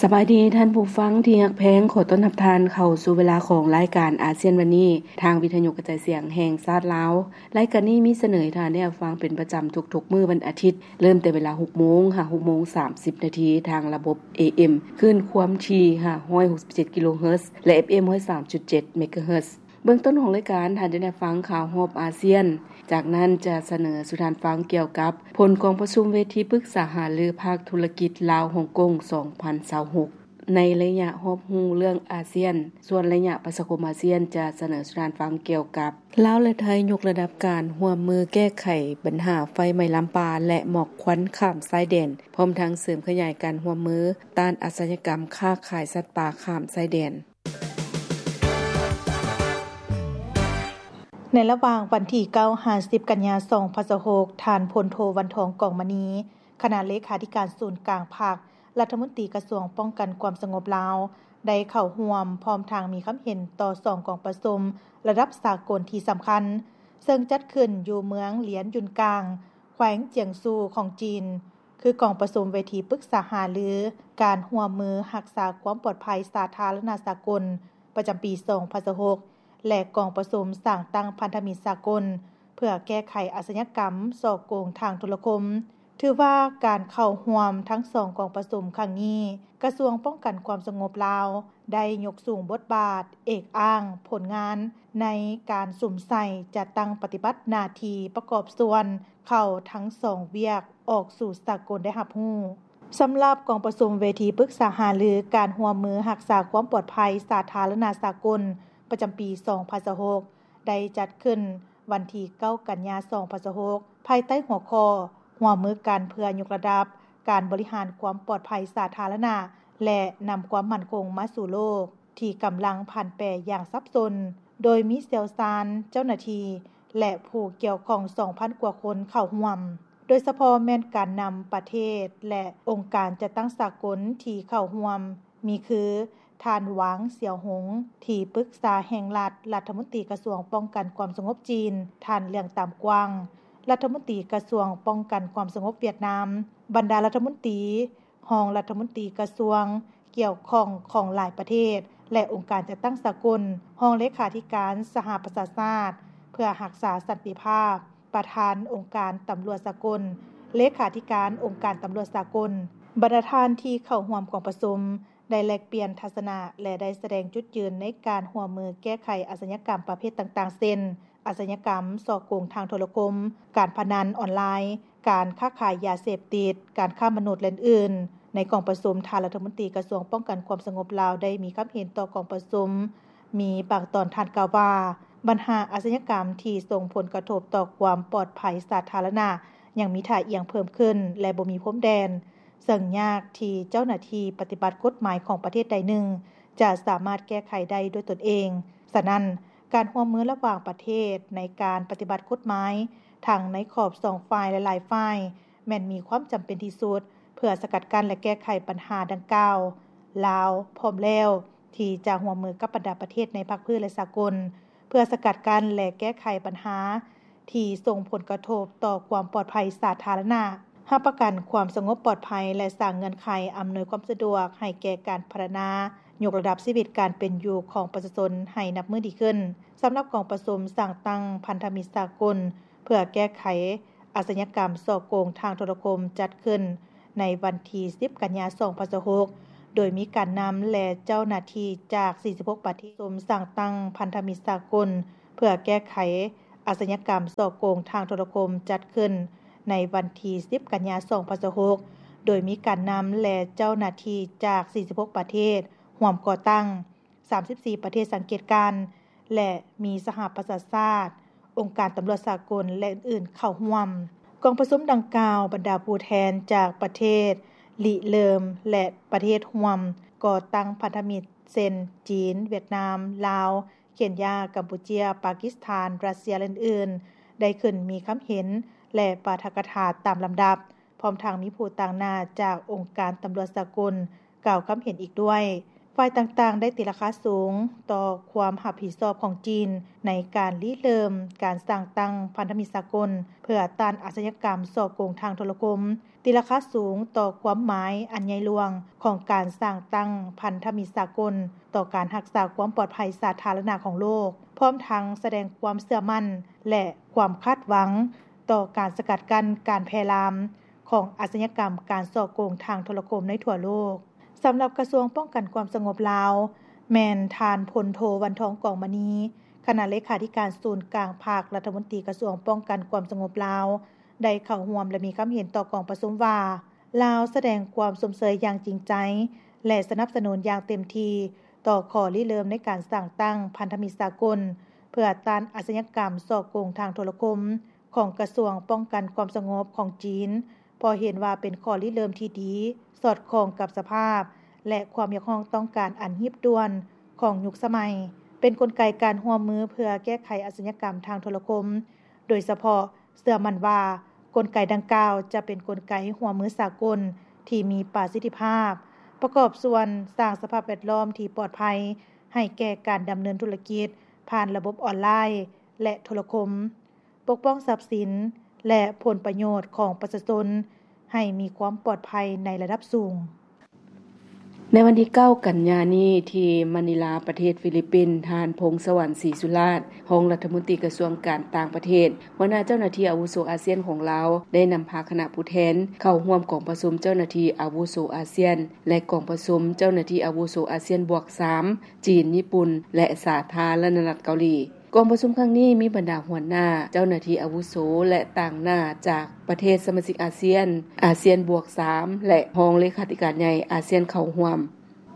ສະບາຍດີທ່ານຜູ້ຟັງທີ່ຮັກແພງ, ຂໍຕ້ອນຮັບທ່ານເຂົ້າສູ່ເວລາຂອງລາຍການອາຊຽນວັນນີ້ ທາງວິທະຍຸກະຈາຍສຽງແຫ່ງຊາດລາວ. ລາຍການນີ້ມີສະເໜີໃຫ້ທ່ານໄດ້ຮັບຟັງເປັນປະຈຳທຸກໆມື້ວັນອາທິດ, ເລີ່ມແຕ່ເວລາຫົກໂມງຫາຫົກໂມງສາມສິບນາທີ ທາງລະບົບ ເອເອັມ ຄື້ນຄວາມຖີ່ຫ້າຮ້ອຍຫົກສິບເຈັດກິໂລເຮີດ ແລະ ເອັຟເອັມຮ້ອຍສາມຈຸດເຈັດເມກາເຮີດ. ເບື້ອງຕົ້ນຂອງລາຍການ, ທ່ານຈະໄດ້ຟັງຂ່າວຮອບອາຊຽນ, ຈາກນັ້ນຈະສະເໜີສູ່ທ່ານຟັງກ່ຽວກັບຜົນກອງປະຊຸມເວທີປຶກສາຫາລືພາກທຸລະກິດລາວ-ຮົງກົງ ສອງພັນຊາວຫົກ ໃນໄລຍະຮອບຮູ້ເລື່ອງອາຊຽນ, ສ່ວນໄລຍະປະຊາຄົມອາຊຽນຈະສະເໜີສູ່ທ່ານຟັງກ່ຽວກັບ ລາວ ແລະ ໄທ ຍົກລະດັບການຮ່ວມມືແກ້ໄຂບັນຫາໄຟໄໝ້ລາມປ່າ ແລະ ໝອກຄວັນຂ້າມຊາຍແດນ, ພ້ອມທັງເສີມຂະຫຍາຍການຮ່ວມມືຕ້ານອາຊະຍາກຳຄ້າຂາຍສັດປ່າຂ້າມຊາຍແດນ. ໃນລະຫວ່າງວັນທີເກົ້າຫາສິບກັນຍາສອງພັນຊາວຫົກ, ທ່ານ ພົນໂທ ວັນທອງ ກອງມະນີ ຄະນະເລຂາທິການສູນກາງພັກ, ລັດຖະມົນຕີກະຊວງປ້ອງກັນຄວາມສະຫງົບລາວ ໄດ້ເຂົ້າຮ່ວມ ພ້ອມທັງມີຄຳເຫັນຕໍ່ສອງກອງປະຊຸມລະດັບສາກົນທີ່ສຳຄັນ, ເຊິ່ງຈັດຂຶ້ນຢູ່ເມືອງຫຼຽນຢຸນກາງ, ແຂວງຈຽງຊູຂອງຈີນ, ຄືກອງປະຊຸມເວທີປຶກສາຫາລືການຮ່ວມມືຮັກສາຄວາມປອດໄພສາທາລະນະສາກົນ ປະຈຳປີສອງພັນຊາວຫົກ ແລະ ກອງປະຊຸມສ້າງຕັ້ງພັນທະມິດສາກົນ ເພື່ອແກ້ໄຂອາຊະຍາກຳສໍ້ໂກງທາງໂທລະຄົມ. ຖືວ່າການເຂົ້າຮ່ວມທັງສອງກອງປະຊຸມຄັ້ງນີ້, ກະຊວງປ້ອງກັນຄວາມສະຫງົບລາວ ໄດ້ຍົກສູງບົດບາດ, ເອກອ້າງຜົນງານໃນການສຸມໃສ່ຈັດຕັ້ງປະຕິບັດໜ້າທີ່ປະກອບສ່ວນເຂົ້າທັງສອງວຽກອອກສູ່ສາກົນໄດ້ຮັບຮູ້. ສຳລັບກອງປະຊຸມເວທີປຶກສາຫາລືການຮ່ວມມືຮັກສາຄວາມປອດໄພສາທາລະນະສາກົນ ປະຈຳປີສອງພັນຊາວຫົກ ໄດ້ຈັດຂຶ້ນວັນທີເກົ້າກັນຍາສອງພັນຊາວຫົກ ພາຍໃຕ້ຫົວຂໍ້ ຮ່ວມມືກັນເພື່ອຍົກລະດັບການບໍລິຫານຄວາມປອດໄພສາທາລະນະ ແລະ ນຳຄວາມໝັ້ນຄົງມາສູ່ໂລກ ທີ່ກຳລັງຜັນແປຢ່າງສັບສົນ, ໂດຍມີຊ່ຽວຊານ, ເຈົ້າໜ້າທີ່ ແລະ ຜູ້ກ່ຽວຂ້ອງສອງພັນກວ່າຄົນເຂົ້າຮ່ວມ, ໂດຍສະເພາະແມ່ນການນຳປະເທດ ແລະ ອົງການຈັດຕັ້ງສາກົນທີ່ເຂົ້າຮ່ວມ ມີຄື ທ່ານ ຫວາງ ສຽວຫົງ ທີ່ປຶກສາແຫ່ງລັດ ລັດຖະມົນຕີກະຊວງປ້ອງກັນຄວາມສະຫງົບຈີນ, ທ່ານ ເລື່ອງຕາມກວາງ ລັດຖະມົນຕີກະຊວງປ້ອງກັນຄວາມສະຫງົບຫວຽດນາມ, ບັນດາລັດຖະມົນຕີ, ຮອງລັດຖະມົນຕີກະຊວງກ່ຽວຂ້ອງຂອງຫຼາຍປະເທດ ແລະ ອົງການຈັດຕັ້ງສາກົນ, ຮອງເລຂາທິການສະຫະປະຊາຊາດເພື່ອຮັກສາສັນຕິພາບ, ປະທານອົງການຕຳຫຼວດສາກົນ, ເລຂາທິການອົງການຕຳຫຼວດສາກົນ. ບັນດາທ່ານທີ່ເຂົ້າຮ່ວມກອງປະຊຸມ ໄດ້ແລກປ່ຽນທັດສະນະ ແລະ ໄດ້ສະແດງຈຸດຢືນໃນການຮ່ວມມືແກ້ໄຂອາຊະຍາກຳປະເພດຕ່າງໆ ເຊັ່ນ ອາຊະຍາກຳ, ສໍ້ໂກງທາງໂທລະຄົມ, ການພະນັນອອນລາຍ, ການຄ້າຂາຍຢາເສບຕິດ, ການຄ້າມະນຸດ ແລະ ອື່ນໆ. ໃນກອງປະຊຸມ, ທ່ານລັດຖະມົນຕີກະຊວງປ້ອງກັນຄວາມສະຫງົບລາວ ໄດ້ມີຄຳເຫັນຕໍ່ກອງປະຊຸມ ມີບາງຕອນທ່ານກ່າວວ່າ, ບັນຫາອາຊະຍາກຳທີ່ສົ່ງຜົນກະທົບຕໍ່ຄວາມປອດໄພສາທາລະນະ ຍັງມີທ່າອ່ຽງເພີ່ມຂຶ້ນ ແລະ ບໍ່ມີພົມແດນ, ເຊິ່ງຍາກທີ່ເຈົ້າໜ້າທີ່ປະຕິບັດກົດໝາຍຂອງປະເທດໃດໜຶ່ງ ຈະສາມາດແກ້ໄຂໄດ້ດ້ວຍຕົນເອງ. ສະນັ້ນ, ການຮ່ວມມືລະຫວ່າງປະເທດໃນການປະຕິບັດກົດໝາຍ ທັງໃນຂອບສອງຝ່າຍ ແລະ ຫຼາຍຝ່າຍ ແມ່ນມີຄວາມຈຳເປັນທີ່ສຸດ ເພື່ອສະກັດກັ້ນ ແລະ ແກ້ໄຂບັນຫາດັ່ງກ່າວ. ລາວພ້ອມແລ້ວທີ່ຈະຮ່ວມມືກັບບັນດາປະເທດໃນພາກພື້ນ ແລະ ສາກົນ ເພື່ອສະກັດກັ້ນ ແລະ ແກ້ໄຂບັນຫາ ທີ່ສົ່ງຜົນກະທົບຕໍ່ຄວາມປອດໄພສາທາລະນະ, ຮັບປະກັນຄວາມສະຫງົບປອດໄພ ແລະ ສ້າງເງື່ອນໄຂອຳນວຍຄວາມສະດວກໃຫ້ແກ່ການພັດທະນາ, ຍົກລະດັບຊີວິດການເປັນຢູ່ຂອງປະຊາຊົນໃຫ້ນັບມື້ດີຂຶ້ນ. ສຳລັບກອງປະຊຸມສ້າງຕັ້ງພັນທະມິດສາກົນ ເພື່ອແກ້ໄຂອາຊະຍາກຳສໍ້ໂກງທາງໂທລະຄົມ ຈັດຂຶ້ນໃນວັນທີສິບ ກັນຍາ ສອງພັນຊາວຫົກ ໂດຍມີການນຳ ແລະ ເຈົ້າໜ້າທີ່ຈາກ ສີ່ສິບຫົກ ປະເທດ. ປະຊຸມສ້າງຕັ້ງພັນທະມິດສາກົນ ເພື່ອແກ້ໄຂ ອາຊະຍາກຳສໍ້ໂກງທາງໂທລະຄົມ ຈັດຂຶ້ນໃນວັນທີສິບ ກັນຍາ ສອງພັນຊາວຫົກ ໂດຍມີການນຳ ແລະ ເຈົ້າໜ້າທີ່ຈາກ ສີ່ສິບຫົກ ປະເທດ ຮ່ວມກໍ່ຕັ້ງ, ສາມສິບສີ່ ປະເທດສັງເກດການ ແລະ ມີສະຫະປະຊາຊາດ, ອົງການຕຳຫຼວດສາກົນ ແລະ ອື່ນໆ ເຂົ້າຮ່ວມ. ກອງປະຊຸມດັ່ງກ່າວ, ບັນດາຜູ້ແທນຈາກປະເທດລິເລີ່ມ ແລະ ປະເທດຮ່ວມກໍ່ຕັ້ງພັນທະມິດ ເຊັ່ນ ຈີນ, ຫວຽດນາມ, ລາວ, ເຄນຢາ, ກຳປູເຈຍ, ປາກິສຖານ, ຣັດເຊຍ ແລະ ອື່ນໆ ໄດ້ຂຶ້ນມີຄຳເຫັນ ແລະ ປາຖະກະຖາຕາມລຳດັບ, ພ້ອມທັງມີຜູ້ຕາງໜ້າຈາກອົງການຕຳຫຼວດສາກົນກ່າວຄຳເຫັນອີກດ້ວຍ. ຝ່າຍຕ່າງໆໄດ້ຕີລາຄາສູງຕໍ່ຄວາມຮັບຜິດຊອບຂອງຈີນ ໃນການລິເລີ່ມການສ້າງຕັ້ງພັນທະມິດສາກົນ ເພື່ອຕ້ານອາຊຍາກຳສໍ້ໂກງທາງໂທລະຄົມ, ຕີລາຄາສູງຕໍ່ຄວາມໝາຍອັນໃຫຍ່ຫຼວງຂອງການສ້າງຕັ້ງພັນທະມິດສາກົນ ຕໍ່ການຮັກສາຄວາມປອດໄພສາທາລະນະຂອງໂລກ, ພ້ອມທັງສະແດງຄວາມເຊື່ອໝັ້ນ ແລະ ຄວາມຄາດຫວັງຕໍ່ການສະກັດກັ້ນການແຜ່ລາມຂອງອາຊຍາກຳການສໍ້ໂກງທາງໂທລະຄົມໃນທົ່ວໂລກ. ສຳລັບກະຊວງປ້ອງກັນຄວາມສະຫງົບລາວ ແມ່ນທ່ານ ພົນໂທ ວັນທອງ ກອງມະນີ, ຄະນະເລຂາທິການສູນກາງພັກ, ລັດຖະມົນຕີກະຊວງປ້ອງກັນຄວາມສະຫງົບລາວ ໄດ້ເຂົ້າຮ່ວມ ແລະ ມີຄຳເຫັນຕໍ່ກອງປະຊຸມວ່າ ລາວສະແດງຄວາມຊົມເຊີຍຢ່າງຈິງໃຈ ແລະ ສະໜັບສະໜູນຢ່າງເຕັມທີ່ຕໍ່ຂໍ້ລິເລີ່ມໃນການສ້າງຕັ້ງພັນທະມິດສາກົນ ເພື່ອຕ້ານອາຊຍາກຳສໍ້ໂກງທາງໂທລະຄົມ ຂອງກະຊວງປ້ອງກັນຄວາມສະຫງົບຂອງຈີນ, ເພາະເຫັນວ່າເປັນຂໍ້ລິເລີ່ມທີ່ດີ, ສອດຄ່ອງກັບສະພາບ ແລະ ຄວາມຮຽກຮ້ອງຕ້ອງການອັນຮີບດ່ວນຂອງຍຸກສະໄໝ, ເປັນກົນໄກການຮ່ວມມືເພື່ອແກ້ໄຂອາຊຍາກຳທາງໂທລະຄົມ, ໂດຍສະເພາະເຊື່ອໝັ້ນວ່າ ກົນໄກດັ່ງກ່າວຈະເປັນກົນໄກຮ່ວມມືສາກົນທີ່ມີປະສິດທິພາບ, ປະກອບສ່ວນສ້າງສະພາບແວດລ້ອມທີ່ປອດໄພໃຫ້ແກ່ການດຳເນີນທຸລະກິດຜ່ານລະບົບອອນລາຍ ແລະ ໂທລະຄົມ. ປົກປ້ອງຊັບສິນ ແລະ ຜົນປະໂຫຍດຂອງປະຊາຊົນໃຫ້ມີຄວາມປອດໄພໃນລະດັບສູງ. ໃນວັນທີເກົ້າ ກັນຍານີ້ ທີ່ມະນີລາ ປະເທດຟີລິບປິນ, ທ່ານ ພົງສະຫວັນ ສີສຸລາດ, ຮອງລັດຖະມົນຕີກະຊວງການຕ່າງປະເທດ, ຫົວໜ້າເຈົ້າໜ້າທີ່ອາວຸໂສອາຊຽນຂອງລາວ ໄດ້ນຳພາຄະນະຜູ້ແທນເຂົ້າຮ່ວມກອງປະຊຸມເຈົ້າໜ້າທີ່ອາວຸໂສອາຊຽນ ແລະ ກອງປະຊຸມເຈົ້າໜ້າທີ່ອາວຸໂສອາຊຽນບວກສາມ ຈີນ, ຍີ່ປຸ່ນ ແລະ ສາທາລະນະລັດເກົາຫຼີ. ກອງປະຊຸມຄັ້ງນີ້ມີບັນດາຫົວໜ້າ, ເຈົ້າໜ້າທີ່ອາວຸໂສ ແລະ ຕາງໜ້າຈາກປະເທດສະມາຊິກອາຊຽນ, ອາຊຽນບວກສາມ ແລະ ຮອງເລຂາທິການໃຫຍ່ອາຊຽນເຂົ້າຮ່ວມ.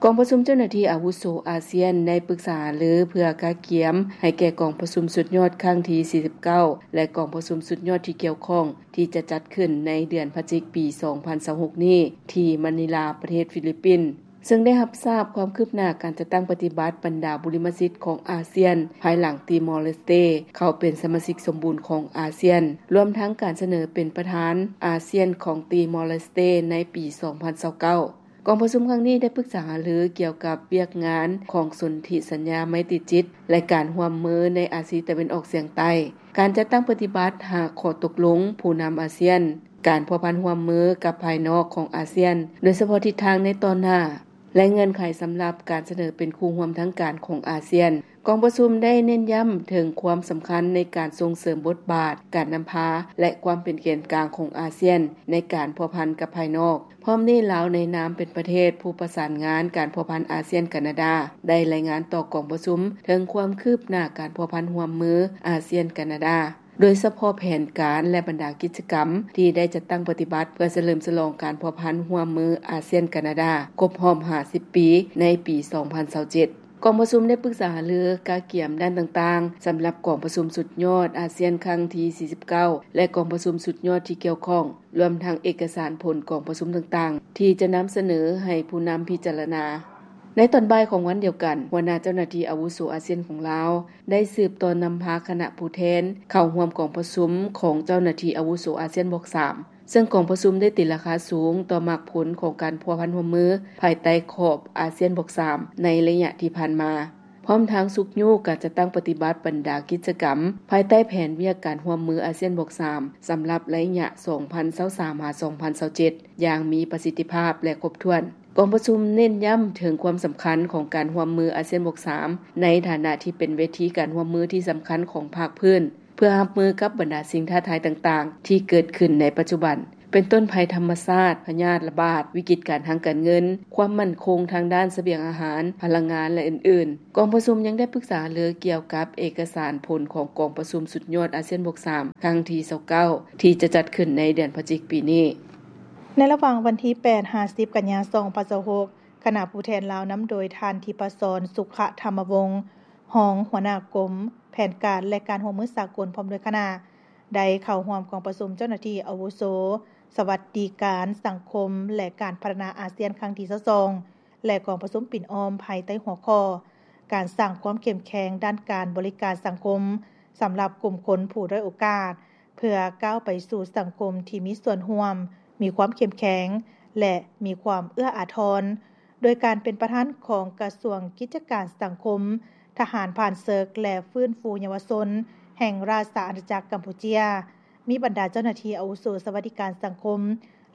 ກອງປະຊຸມເຈົ້າໜ້າທີ່ອາວຸໂສອາຊຽນໄດ້ປຶກສາຫາລືເພື່ອກະກຽມໃຫ້ແກ່ກອງປະຊຸມສຸດຍອດຄັ້ງທີສີ່ສິບເກົ້າ ແລະ ກອງປະຊຸມສຸດຍອດທີ່ກ່ຽວຂ້ອງທີ່ຈະຈັດຂຶ້ນໃນເດືອນພະຈິກປີສອງພັນຊາວຫົກນີ້ ທີ່ມະນີລາ ປະເທດຟີລິບປິນ. ເຊິ່ງໄດ້ຮັບຊາບຄວາມຄືບໜ້າການຈັດຕັ້ງປະຕິບັດບັນດາບຸລິມະສິດຂອງອາຊຽນ ພາຍຫຼັງຕີມໍເລສເຕເຂົ້າເປັນສະມາຊິກສົມບູນຂອງອາຊຽນ, ລວມທັງການສະເໜີເປັນປະທານອາຊຽນຂອງຕີມໍເລສເຕໃນປີສອງພັນຊາວເກົ້າ. ກອງປະຊຸມຄັ້ງນີ້ໄດ້ປຶກສາຫາລືກ່ຽວກັບວຽກງານຂອງສົນທິສັນຍາໄມຕີຈິດ ແລະ ການຮ່ວມມືໃນອາຊີຕາເວັນອອກສຽງໃຕ້, ການຈັດຕັ້ງປະຕິບັດຫ້າຂໍ້ຕົກລົງຜູ້ນຳອາຊຽນ, ການພົວພັນຮ່ວມມືກັບພາຍນອກຂອງອາຊຽນ, ໂດຍສະເພາະທິດທາງໃນຕໍ່ໜ້າ ແລະ ເງື່ອນໄຂສຳລັບການສະເໜີເປັນຄູ່ຮ່ວມທາງການຂອງອາຊຽນ. ກອງປະຊຸມໄດ້ເນັ້ນຢ້ຳເຖິງຄວາມສຳຄັນໃນການສົ່ງເສີມບົດບາດການນຳພາ ແລະ ຄວາມເປັນແກນກາງຂອງອາຊຽນໃນການພົວພັນກັບພາຍນອກ. ພ້ອມນີ້, ລາວໃນນາມເປັນປະເທດຜູ້ປະສານງານການພົວພັນອາຊຽນ-ການາດາ ໄດ້ລາຍງານຕໍ່ກອງປະຊຸມເຖິງຄວາມຄືບໜ້າການພົວພັນຮ່ວມມືອາຊຽນ-ການາດາ. ໂດຍສະເພາະແຜນການ ແລະ ບັນດາກິດຈະກຳທີ່ໄດ້ຈັດຕັ້ງປະຕິບັດເພື່ອສະເຫຼີມສະຫຼອງການພົວພັນຮ່ວມມືອາຊຽນ-ການາດາ ຄົບຮອບຫ້າສິບປີໃນປີສອງພັນຊາວເຈັດ. ກອງປະຊຸມໄດ້ປຶກສາຫາລືກະກຽມດ້ານຕ່າງໆ ສຳລັບກອງປະຊຸມສຸດຍອດອາຊຽນຄັ້ງທີສີ່ສິບເກົ້າ ແລະ ກອງປະຊຸມສຸດຍອດທີ່ກ່ຽວຂ້ອງ, ລວມທັງເອກະສານຜົນກອງປະຊຸມຕ່າງໆ ທີ່ຈະນຳສະເໜີໃຫ້ຜູ້ນຳພິຈາລະນາ. ໃນຕອນບ່າຍຂອງວັນດຽວກັນ, ຫົວໜ້າເຈົ້າໜ້າທີ່ອາວຸໂສອາຊຽນຂອງລາວ ໄດ້ສືບຕໍ່ນຳພາຄະນະຜູ້ແທນເຂົ້າຮ່ວມກອງປະຊຸມຂອງເຈົ້າໜ້າທີ່ອາວຸໂສອາຊຽນບວກສາມ, ເຊິ່ງກອງປະຊຸມໄດ້ຕີລາຄາສູງຕໍ່ໝາກຜົນຂອງການພົວພັນຮ່ວມມືພາຍໃຕ້ຂອບອາຊຽນບວກສາມໃນໄລຍະທີ່ຜ່ານມາ, ພ້ອມທັງຊຸກຍູ້ການຈັດຕັ້ງປະຕິບັດບັນດາກິດຈະກຳພາຍໃຕ້ແຜນວຽກການຮ່ວມມືອາຊຽນບວກສາມ ສຳລັບໄລຍະສອງພັນຊາວສາມ ຫາ ສອງພັນຊາວເຈັດ ຢ່າງມີປະສິດທິພາບ ແລະ ຄົບຖ້ວນ. ກອງປະຊຸມເນັ້ນຢ້ຳເຖິງຄວາມສຳຄັນຂອງການຮ່ວມມືອາຊຽນບວກສາມ ໃນຖານະທີ່ເປັນເວທີການຮ່ວມມືທີ່ສຳຄັນຂອງພາກພື້ນ ເພື່ອຮັບມືກັບບັນດາສິ່ງທ້າທາຍຕ່າງໆທີ່ເກີດຂຶ້ນໃນປັດຈຸບັນ, ເປັນຕົ້ນໄພທຳມະຊາດ, ພະຍາດລະບາດ, ວິກິດການທາງການເງິນ, ຄວາມໝັ້ນຄົງທາງດ້ານສະບຽງອາຫານ, ພະລັງງານ ແລະ ອື່ນໆ. ກອງປະຊຸມຍັງໄດ້ປຶກສາຫາລືກ່ຽວກັບເອກະສານຜົນຂອງກອງປະຊຸມສຸດຍອດອາຊຽນບວກສາມ ຄັ້ງທີຊາວເກົ້າ ທີ່ຈະຈັດຂຶ້ນໃນເດືອນພະຈິກປີນີ້. ໃນລະຫວ່າງວັນທີແປດ ຫາ ສິບ ກັນຍາ ສອງພັນຊາວຫົກ, ຄະນະຜູ້ແທນລາວນຳໂດຍທ່ານ ທິບພະສອນ ສຸຂະທຳມະວົງ, ຮອງຫົວໜ້າກົມແຜນການ ແລະ ການຮ່ວມມືສາກົນ ພ້ອມດ້ວຍຄະນະ ໄດ້ເຂົ້າຮ່ວມກອງປະຊຸມເຈົ້າໜ້າທີ່ອາວຸໂສສະຫວັດດີການສັງຄົມ ແລະ ການພັດທະນາອາຊຽນຄັ້ງທີຊາວສອງ ແລະ ກອງປະຊຸມປິ່ນອ້ອມພາຍໃຕ້ຫົວຂໍ້ ການສ້າງຄວາມເຂັ້ມແຂງດ້ານການບໍລິການສັງຄົມສຳລັບກຸ່ມຄົນຜູ້ດ້ອຍໂອກາດ ເພື່ອກ້າວໄປສູ່ສັງຄົມທີ່ມີສ່ວນຮ່ວມ, ມີຄວາມເຂັ້ມແຂງ ແລະ ມີຄວາມເອື້ອອາທອນ ໂດຍການເປັນປະທານຂອງກະຊວງກິດຈະການສັງຄົມ, ທະຫານຜ່ານເສິກ ແລະ ຟື້ນຟູເຍົາວະຊົນ ແຫ່ງລາຊະອານາຈັກກຳປູເຈຍ, ມີບັນດາເຈົ້າໜ້າທີ່ອາວຸໂສສະຫວັດດີການສັງຄົມ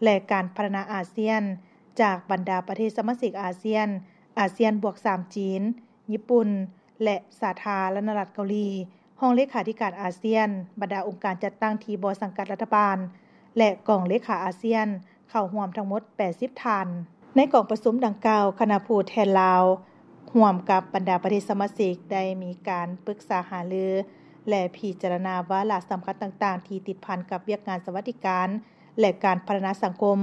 ແລະ ການພັດທະນາອາຊຽນ ຈາກບັນດາປະເທດສະມາຊິກອາຊຽນ, ອາຊຽນບວກສາມ ຈີນ, ຍີ່ປຸ່ນ ແລະ ສາທາລະນະລັດເກົາຫຼີ, ຫ້ອງເລຂາທິການອາຊຽນ, ບັນດາອົງການຈັດຕັ້ງທີ່ບໍ່ສັງກັດລັດຖະບານ ແລະ ກອງເລຂາອາຊຽນ ເຂົ້າຮ່ວມທັງໝົດແປດສິບທ່ານ. ໃນກອງປະຊຸມດັ່ງກ່າວ, ຄະນະຜູ້ແທນລາວ ຮ່ວມກັບບັນດາປະເທດສະມາຊິກ ໄດ້ມີການປຶກສາຫາລື ແລະ ພິຈາລະນາວາລະສຳຄັນຕ່າງໆ ທີ່ຕິດພັນກັບວຽກງານສະຫວັດດີການ ແລະ ການພັດທະນາສັງຄົມ,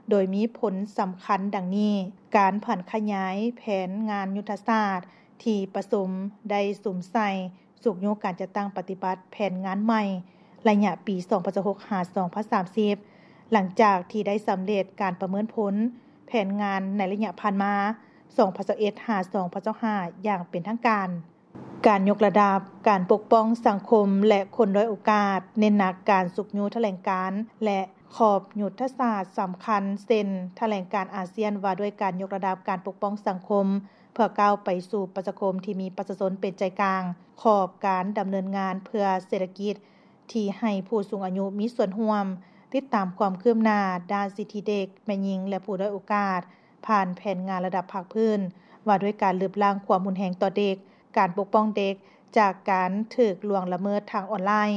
ໂດຍມີຜົນສຳຄັນດັ່ງນີ້: ການຜັນຂະຫຍາຍແຜນງານຍຸດທະສາດ ທີ່ປະຊຸມໄດ້ສຸມໃສ່ ຊຸກຍູ້ການຈັດຕັ້ງປະຕິບັດແຜນງານໃໝ່ ໄລຍະປີສອງພັນຊາວຫົກ ຫາ ສອງພັນສາມສິບ ຫຼັງຈາກທີ່ໄດ້ສຳເລັດການປະເມີນຜົນແຜນງານໃນໄລຍະຜ່ານມາ ສອງພັນຊາວເອັດ ຫາ ສອງພັນຊາວຫ້າ ຢ່າງເປັນທາງການ. ການຍົກລະດັບການປົກປ້ອງສັງຄົມ ແລະ ຄົນດ້ອຍໂອກາດ, ເນັ້ນໜັກການຊຸກຍູ້ຖະແຫຼງການ ແລະ ຂອບຍຸດທະສາດສຳຄັນ ເຊັ່ນ ຖະແຫຼງການອາຊຽນວ່າດ້ວຍການຍົກລະດັບການປົກປ້ອງສັງຄົມ ເພື່ອກ້າວໄປສູ່ປະຊາຄົມທີ່ມີປະຊາຊົນເປັນໃຈກາງ, ຂອບການດຳເນີນງານເພື່ອເສດຖະກິດທີ່ໃຫ້ຜູ້ສູງອາຍຸມີສ່ວນຮ່ວມ, ຕິດຕາມຄວາມຄືບໜ້າດ້ານສິດທິເດັກ, ແມ່ຍິງ ແລະ ຜູ້ດ້ອຍໂອກາດ ຜ່ານແຜນງານລະດັບພາກພື້ນ ວ່າດ້ວຍການລຶບລ້າງຄວາມຮຸນແຮງຕໍ່ເດັກ, ການປົກປ້ອງເດັກຈາກການຖືກລ່ວງລະເມີດທາງອອນລາຍ,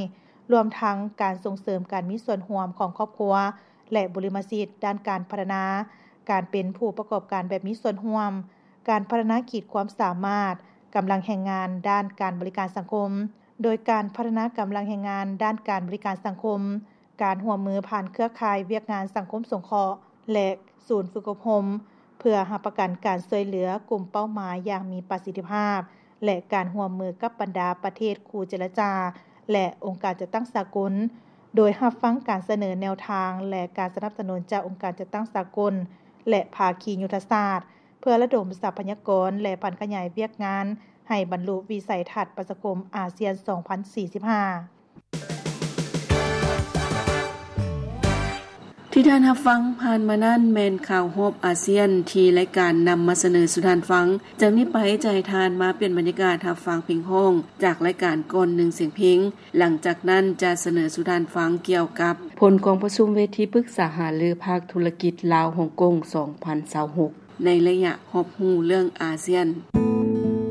ລວມທັງການສົ່ງເສີມການມີສ່ວນຮ່ວມຂອງຄອບຄົວ ແລະ ບຸລິມະສິດດ້ານການພັດທະນາການເປັນຜູ້ປະກອບການແບບມີສ່ວນຮ່ວມ, ການພັດທະນາຂີດຄວາມສາມາດກຳລັງແຮງງານດ້ານການບໍລິການສັງຄົມ, ໂດຍການພັດທະນາກຳລັງແຮງງານດ້ານການບໍລິການສັງຄົມ, ການຮ່ວມມືຜ່ານເຄືອຂ່າຍວຽກງານສັງຄົມສົງເຄາະ ແລະ ສູນຝຶກອົບຮົມ ເພື່ອຮັບປະກັນການຊ່ວຍເຫຼືອກຸ່ມເປົ້າໝາຍຢ່າງມີປະສິດທິພາບ ແລະ ການຮ່ວມມືກັບບັນດາປະເທດຄູ່ເຈລະຈາ ແລະ ອົງການຈັດຕັ້ງສາກົນ, ໂດຍຮັບຟັງການສະເໜີແນວທາງ ແລະ ການສະໜັບສະໜູນຈາກອົງການຈັດຕັ້ງສາກົນ ແລະ ພາຄີຍຸດທະສາດ ເພື່ອລະດົມຊັບພະຍາກອນ ແລະ ຜັນຂະຫຍາຍວຽກງານໃຫ້ບັນລຸວິໄສທັດປະຊາຄົມອາຊຽນສອງພັນສີ່ສິບຫ້າ. ທີ່ທ່ານຮັບຟັງຜ່ານມານັ້ນແມ່ນຂ່າວຮອບອາຊຽນທີ່ລາຍການນຳມາສະເໜີສູ່ທ່ານຟັງ. ຈາກນີ້ໄປຈະໃຫ້ທ່ານມາປ່ຽນບັນຍາກາດຮັບຟັງເພງຮ້ອງຈາກລາຍການກ່ອນໜຶ່ງສຽງເພງ. ຫຼັງຈາກນັ້ນຈະສະເໜີສູ່ທ່ານຟັງກ່ຽວກັບຜົນກອງປະຊຸມເວທີປຶກສາຫາລືພາກທຸລະກິດລາວ-ຮົງກົງສອງພັນຊາວຫົກ ໃນໄລຍະຮອບຮູ້ເລື່ອງອາຊຽນ.